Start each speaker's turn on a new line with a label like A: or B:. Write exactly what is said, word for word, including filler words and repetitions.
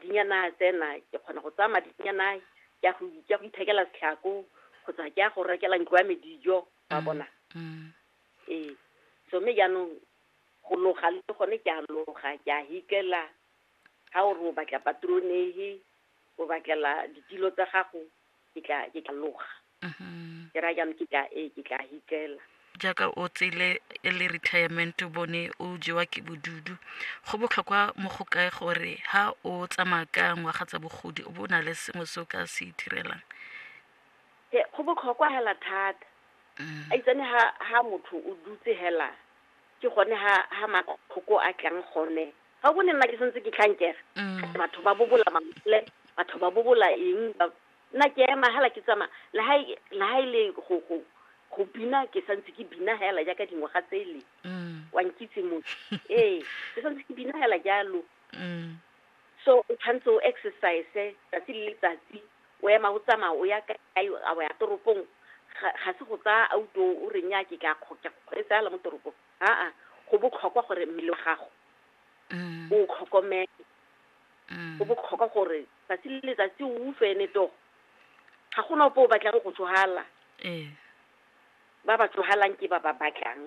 A: Madinyana a tsena, ke kgona go tsaya madinyana ke a go ke a go ithekela setlhako kgotsa ke a go rekela ntlo ya me dijo, wa bona.
B: Mm.
A: Ee, so mme jaanong go loga le gone ke a loga, ke a hikela. Ga o re o batla patronehe, o batlela ditilo tsa gago, ke tla ke tla loga.
B: Mhm.
A: Ke raya jaanong ke tla ee ke tla hikela.
B: Jaaka o tsele e le retirement, o bone o jewa ke bodudu, go botlhokwa mo go kae gore ha o tsamaya ka ngwaga tsa bogodi o bo o na le sengwe se o ka se itirelang?
A: He, go botlhokwa hela thata.
B: Mm.
A: A itsane ha ha motho o dutse hela, ke gone ha ha matlhoko a tlang gone. Ga o bone nna ke santse ke tlhankega.
B: Mm.
A: Batho ba bobola mangole, batho ba bobola eng, ba- nna ke ema hela ke tsamaya, le ha e- le ha e le go go go bina, ke santse ke bina hela jaaka dingwaga tsele.
B: Mm.
A: Wa nkitse motho. Ee, ke santse ke bina hela jalo.
B: Mm.
A: So o tshwanetse o exercise tsatsi le letsatsi, o ema o tsamaya o ya kae, a o ya toropong. Ga ga se go tsaya auto o re nnyaa ke tla kgo- ke kgweetsa hela mo toropong. Aa, go botlhokwa gore mmele wa gago
B: Mm.
A: o tlhokomele.
B: Mm.
A: Go botlhokwa gore tsatsi le letsatsi o utlwe ene togo. Ga gona ope o batlang go tsofala.
B: Ee.
A: Ba ba tsogalang ke ba ba batlang.